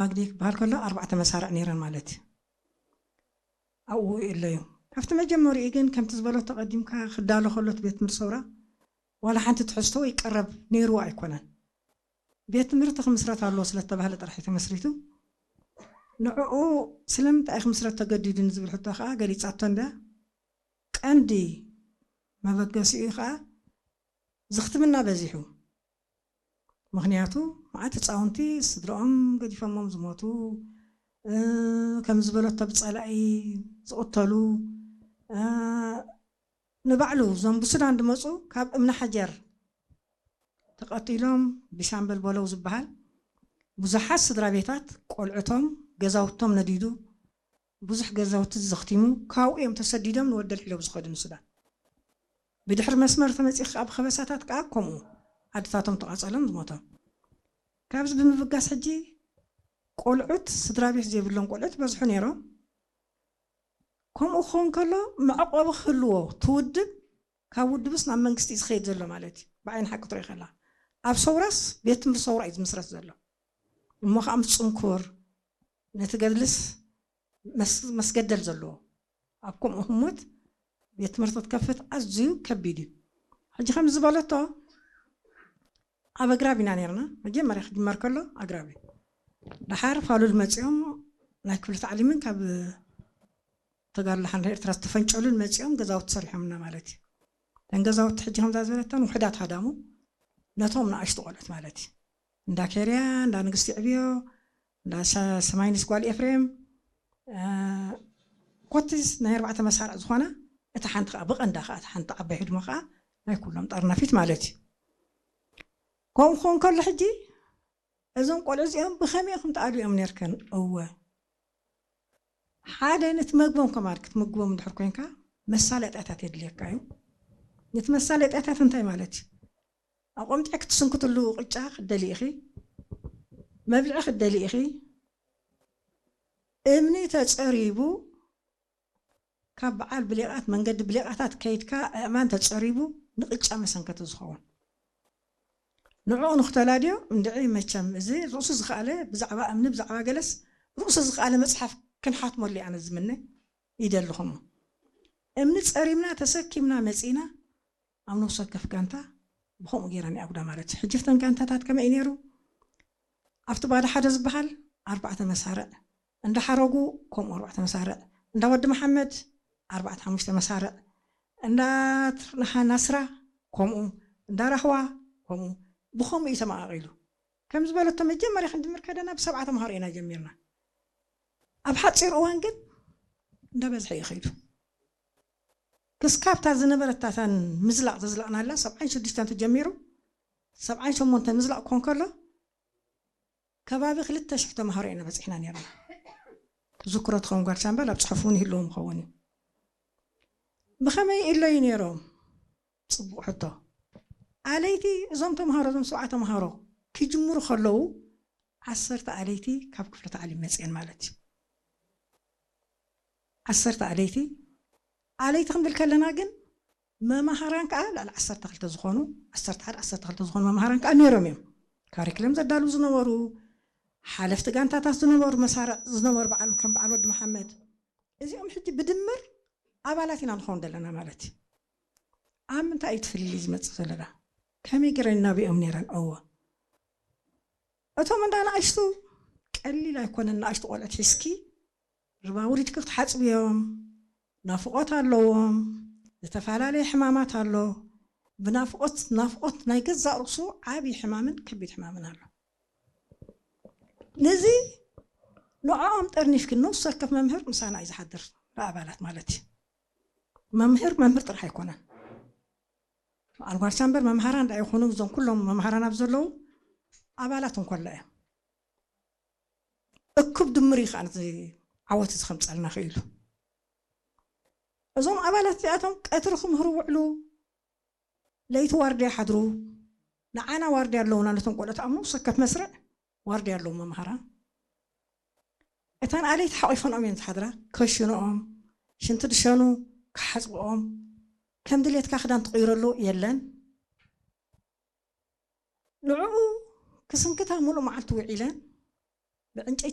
ማግኔ ክበሃል ከሎ ኣርባዕተ መሳርዕ ነይረን ማለት እዩ። ኣብኡ የለዩ። ካብቲ መጀመሪኡ ግን ከምቲ ዝበሎ ተቐዲምካ ክዳሎ ከሎ እቲ ቤት ትምህርቲ ሰውራ ዋላ ሓንቲ ትሕዝቶ ወይ ቀረብ ነይርዎ ኣይኮነን። ቤት ትምህርቲ ክምስረት ኣለዎ ስለተባህለ ጥራሕ እዩ ተመስሪቱ። ንዕኡ ስለምንታይ ክምስረት ተገዲዱ ንዝብል ሕቶ ከዓ ገሊፃቶ እንዳ ቀንዲ መበገሲኡ ከዓ ዝኽትምና በዚሑ። ምኽንያቱ መዓት ህፃውንቲ ስድራኦም ገዲፈሞም ዝሞቱ፣ ከም ዝበለቶ ብፀላኢ ዝቕተሉ፣ ንባዕሉ እዞም ብሱዳን ዝመፁ ካብ እምኒ ሓጀር ተቐቲሎም ብሻምበል በለው ዝበሃል ብዙሓት ስድራ ቤታት ቆልዕቶም ገዛውቶም ነዲዱ ብዙሕ ገዛውቲ ዘኽቲሙ ካብኡ እዮም ተሰዲዶም ንወደል ሒሎም ዝኸዱ ንሱዳን። ብድሕሪ መስመር ተመፂእ ከዓ ብኸበሳታት ከዓ ከምኡ ዓድታቶም ተቓፀሎም ዝሞቶም። ካብዚ ብምብጋስ ሕጂ ቆልዑት ስድራ ቤት ዘይብሎም ቆልዑት በዝሑ ነይሮም። ከምኡ ክኸውን ከሎ መዕቆቢ ክህልዎ ትውድብ ካብ ውድብስ ናብ መንግስቲ እዩ ዝኸይድ ዘሎ ማለት እዩ። ብዓይኒ ሓቂ ትርኢ ከላ ኣብ ሰውራስ ቤት ትምህርቲ ሰውራ እዩ ዝምስረት ዘሎ። እሞ ከዓ ምስ ፅንኩር ነቲ ገድልስ መስገደል ዘለዎ ኣብ ከምኡ ህሞት ቤት ትምህርቲ ክትከፍት ኣዝዩ ከቢድ እዩ። ሕጂ ከም ዝበለቶ ኣብ ኣግራብ ኢና ነርና። መጀመርያ ክጅመር ከሎ ኣግራብ እዩ። ድሓር ፋሉል መፂኦም ናይ ክፍሊ ታዕሊምን ካብ ተጋድሎ ሓንዳ ኤርትራ ዝተፈንጨሉን መፂኦም ገዛውቲ ሰሪሖምና ማለት እዩ። እተን ገዛውቲ ሕጂ ከምዛ ዝበለተን ውሕዳት ሃዳሙ ነቶም ንኣሽቱ ቆልዑት ማለት እዩ። እንዳ ኬርያ፣ እንዳ ንግስቲ ዕብዮ፣ እንዳ ሰማይንስ ጓል ኤፍሬም፣ ኮቲ ናይ ኣርባዕተ መሳርዕ ዝኾና እታ ሓንቲ ከዓ ብቐንዳ ከዓ እታ ሓንቲ ዓባይ ህድሞ ከዓ ናይ ኩሎም ጠርናፊት ማለት እዩ። ከምኡ ክኾን ከሎ ሕጂ እዞም ቆልዑ እዚኦም ብኸመይ ኢኹም ተኣልዮም ነርክን? እወ ሓደ ነቲ መግቦም ከማን ክትምግቦም እንድሕር ኮንካ መሳለጥያታት የድልየካ እዩ። ነቲ መሳለጥያታት እንታይ ማለት እዩ? ኣቆምጢዕ ክትስንክትሉ ቅጫ ክትደሊ ኢኺ፣ መብልዒ ክትደሊ ኢኺ። እምኒ ተፀሪቡ ካብ በዓል ብሌቓት መንገዲ ብሌቓታት ከይድካ ኣእማን ተፀሪቡ ንቅጫ መሰንከቲ ዝኸውን ንዕኡ ንክተላድዮ እንድዒ መቸም እዚ ርእሱ ዝኸኣለ ብዛዕባ እምኒ ብዛዕባ ገለስ ርእሱ ዝኸኣለ መፅሓፍ ክንሓትመሉ ኣነ ዝምነ ይደልኹም። እምኒ ፀሪምና ተሰኪምና መፂና ኣብ ነፍሲ ወከፍ ጋንታ ብኸምኡ ገይረን ይኣጉዳ ማለት እዩ። ሕጂ ፍተን ጋንታታት ከመይ እዩ ነይሩ? ኣብቲ ባዶ ሓደ ዝበሃል ኣርባዕተ መሳርዕ እንዳሓረጉ ከምኡ ኣርባዕተ መሳርዕ እንዳ ወዲ መሓመድ ኣርባዕተ ሓሙሽተ መሳርዕ እንዳ ናስራ ከምኡ እንዳ ራህዋ ከምኡ ብኸምኡ እዩ ተመቓቒሉ። ከም ዝበለቶ መጀመርያ ክንጅምር ከደና ብሰብዓ ተምሃሮ ኢና ጀሚርና። ኣብ ሓፂር እዋን ግን እንዳበዝሐ እዩ ኸይዱ። ክስካብታ ዝነበረታታን ምዝላቕ ዘዝለቕናላ ሰብዓን ሽዱሽተን ተጀሚሩ ሰብዓን ሸሞንተ ምዝላቕ ኮን ከሎ ከባቢ ክልተ ሽሕ ተምሃሮ ኢና በፂሕና ነርና። ትዝክሮ ትኸውን ጓል ሻምበል ኣብ ፅሑፍ እውን ይህልዎም ይኸውን እዩ። ብኸመይ ኢለዩ ነይሮም? ፅቡቕ ሕቶ። ኣለይቲ እዞም ተምሃሮ እዞም ሰብዓ ተምሃሮ ክጅምሩ ከለዉ ዓሰርተ ኣለይቲ ካብ ክፍለ ታዕሊም መፅአን ማለት እዩ። ዓሰርተ ኣለይቲ ኣለይቲ ክንብል ከለና ግን መማሃራን ከዓ ልዕሊ ዓሰርተ ክልተ ዝኾኑ ዓሰርተ ሓደ ዓሰርተ ክልተ ዝኾኑ መማሃራን ከዓ ነይሮም እዮም። ካሪክለም ዘዳልዉ ዝነበሩ ሓለፍቲ ጋንታታት ዝነበሩ መሳርዕ ዝነበሩ በዓል ከም በዓል ወዲ መሓመድ እዚኦም ሕጂ ብድምር ኣባላት ኢና ንኸውን ዘለና ማለት እዩ። ኣብ ምንታይ እዩ ትፍልሊ ዝመፅእ ዘለና? ከመይ ገይረን ናብኦም ነይረን? እወ እቶም እንዳ ንኣሽቱ ቀሊል ኣይኮነን። ንኣሽቱ ቆልዑት ሒዝኪ ርባውሪትኪ ክትሓፅብዮም ናፍቆት ኣለዎም። ዝተፈላለየ ሕማማት ኣሎ። ብናፍቆት ናፍቆት ናይ ገዛእ ርእሱ ዓብዪ ሕማምን ከቢድ ሕማምን ኣሎ። ነዚ ንዕኦም ጠርኒፍኪ ነፍሲ ወከፍ መምህር ምሳና እዩ ዝሓድር ንኣባላት ማለት እዩ። መምህር መምህር ጥራሕ ኣይኮነን። ኣልጓርቻ እምበር መምሃራን ዳ ይኹኑ እዞም ኩሎም መምሃራን ኣብ ዘለዉ ኣባላት እንኮላ እዮም። እኩብ ድምር እዩ ከዓ ነዚ ዓወት እዚ ከምፀልና ክኢሉ። እዞም ኣባላት እዚኣቶም ቀትሪ ክምህሩ ውዕሉ፣ ለይቲ ዋርድያ ሓድሩ፣ ንዓና ዋርድያ ኣለውና ነቶም ቆልዑት ኣብ ነፍሲ ወከፍ መስርዕ ዋርድያ ኣለዎም መምሃራን። እተን ኣለይቲ ሓቒፈንኦም እየን ዝሓድራ። ከሽንኦም፣ ሽንቲ ድሸኑ፣ ክሓፅብኦም፣ ከም ድሌትካ ክዳን ትቕይረሉ የለን። ንዕኡ ክስንክታ ሙሉእ መዓልቲ ውዒለን ብዕንጨይቲ